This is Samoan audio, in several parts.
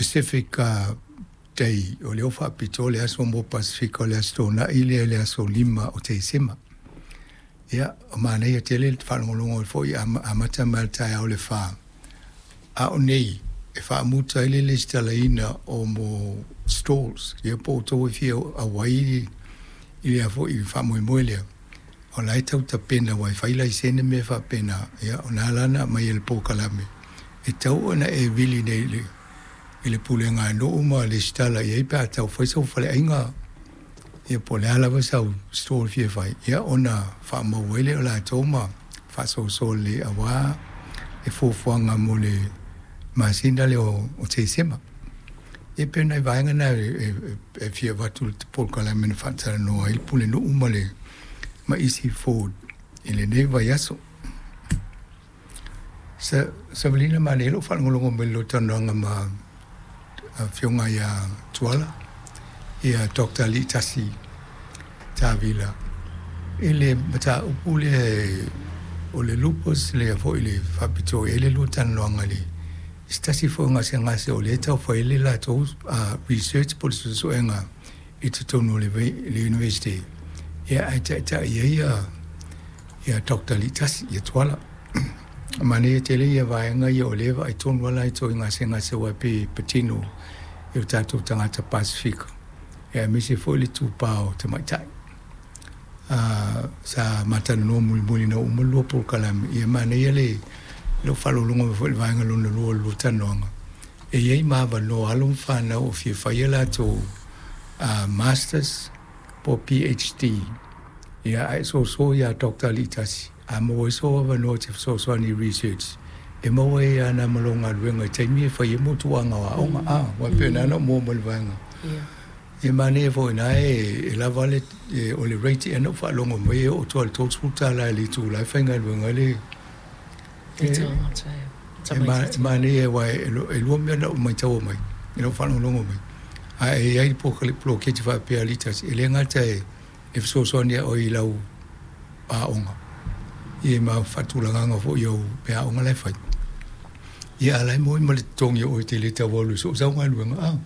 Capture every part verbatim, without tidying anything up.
Pacific uh, Day, o lea ua faapitoa le aso mo Pasefika, o le Aso Toonai lea i le aso lima o Tesema. Ia, o manaia tele le faalogologo foi amata mai le taeao le fa. A o nei e faamuta ai le lesitalaina o mo stalls, ia po o outou e fia auai i lea foi faamoemoe lea, o la e tau tapena aua e fai laisene mea faapena. Ia, o lena la na aumai e le polokalame e tau ona e vili nei i le i le pulega a nuu ma lesitala i ai pe a tau fai sau faleaiga, ia po o le a lava sau stall e fia fai, ia ona faamau ai lea o latou ma faasoasoa lelei aua le fuafuaga mo le masina lea o Tesema. E pei o nai vaega na e fia avatu i le polokalame na faatalanoa ai le pulenuu ma le ma isi Ford i lenei vaiaso. Sa Savalina, manaia lou faalogologo mai i le talanoaga ma afioga ia Tuala, ia Doctor Aliitasi Tavila i le mataupu lea o le lupus lea foi le faapitoa i ai le lua talanoaga i le se tasi foi o gasegase o lea e tau fai ai le latou research po o le suesuega i totonu o le University, ia ae taitai ai ia Doctor Aliitasi ia Tuala. Manaia tele ia vaega ia o lea e vaai tonu lava latou i gasegase aua e pei e patino i o tatou tagata Pasefika, ia aemaise foi le itupa o tamaitai. Sa ma talanoa mulimuli ina ua uma le lua polokalame, ia manaia le lou faalogologo mai foi i le vaega lona lua o le lua talanoaga, e i ai ma avanoa alo ma fanau o fia fai a latou Masters po o P H D, ia ae soso ia Doctor Aliitasi a maua ai sou avanoa e te fesoasoani i research e maua ai lava ma lou galuega i taimi e fai ai motuaga o aoga a ua pei ona ou maua mai le vaega. Ia manaia foi ina e lava le o le rate ea na ou faalogo mai e oo atu i le tolusefulu tala i le itula e faigaluega ai le e manaia aua e lua mea na ou maitaua mai i lou faalogologo mai, ae i ai poloketi faapea a Aliitasi e le gata e fesoasoani ia oe i lau aoga ia ma faatulagaga foi o meaaoga la e fai, ia a o la e maua ma le totogi o oe e te le tau alu i soo sau galuega a.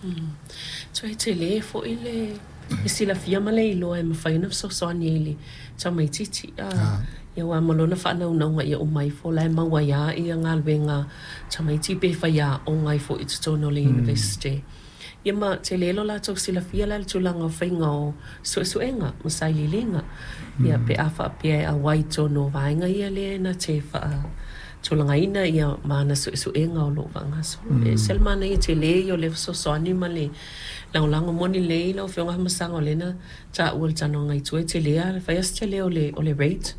Toe tele foi le le silafia ma le iloa e mafai ona fesoasoani ai i le tamaitiiti ia aua ma lona faanaunauga ia uma ifo la e maua ai lava ia galuega tamaiti pe faiaoga ai foi i totonu o le University. Ia ma tele lo latou silafia la i le tulaga o faiga o suesuega ma sailiiliga. Ia pe a faapea e auai i totonu o vaega ia lea na te faatulagaina ia ma ana suesuega o loo faagasolo. E ese le manaia tele ia o le fesoasoani ma le lagolago moni lelei lau Afioga Afamasaga o lea na taua i le talanoaga i tua e tele lava fai lava si tele o le o le rate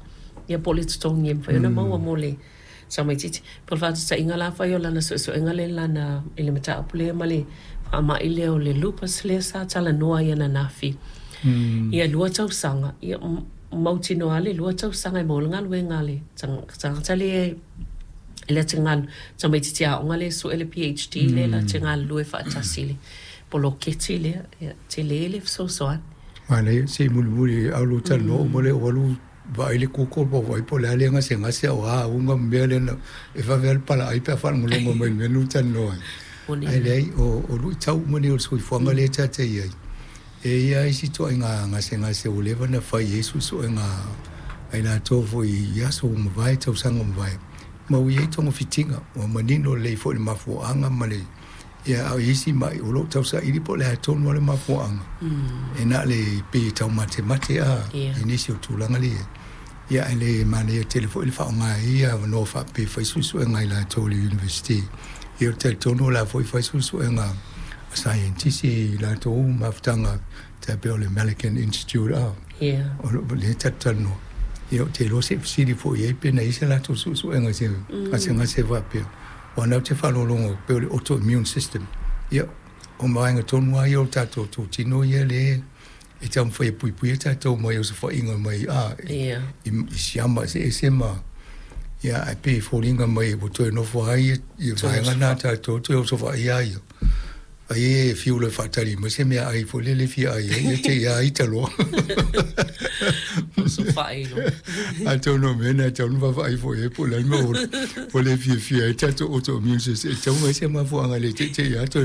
ia po o le totogi e mafai ona maua mo le tamaitiiti. Po o le faataitaiga la afai o lana suesuega lea lana i le mataupu lea ma le faamai lea o le lupus lea sa talanoa ai ananafi. Ia lua tausaga, ia mautinoa le lua tausaga e maua le galuega a le tagata lea lea te galu tamaitiiti aoga lea e sue le P H D lea la te galulue faatasi i le poloketi lea. Ia tele le fesoasoani. Manaia se i mulimuli au lua talanoa uma lea ua alu vaai le Google po o vaai po o le a le gasegase o a auga ma mea lea na e vave lava le palaai pe a faalogologo mai i le mea lea ua talanoa ai. Ae leai o luitau uma nei o le soifuaga lea e tatou i ai, e i ai isi ituaiga gasegase ua leva ona fai ai suesuega a i latou foi i aso ua mavae, tausaga ua mavae, ma ua i ai togafitiga ua manino lelei foi i le mafuaaga ma le ia a o isi mai o lo o tausaili po o le a tonu lava le mafuaaga e na o le pei e taumatemate a i nisi o tulaga lea. Ia ae le manaia tele foi le faaaoga ai ia avanoa faapea e fai suesuega a i latou i le University. Ia ou te talitonu o la foi fai suesuega a saienitisi i latou mafutaga tai pei o le American Institute a o lea tatou talanoa. Ia ou te iloa se i fesili foi i ai pe na i ai se latou suesuega i se gasegase faapea. Aua o lena ou te faalogologo pei o le autoimmune system. Ia o vaega tonu lava ia o le tatou tino ia lea e taumafai e puipuia tatou mai osofaiga mai a i siama eseese ma ia ae pei e foliga mai ua toe nofo ai ia vaega na tatou toe osofaia ai ia. Ai e fiu loa e faatali mai se meaai foi lele e fia ai ai ia te i a ita loa. Osofai loa. Atonu o mea na e tatau ona vaavaai foi i ai po o le a le mea ua le fiafia ai le tatou autoimmune system e tatau ona i ai se mafuaaga e le teitei lava toe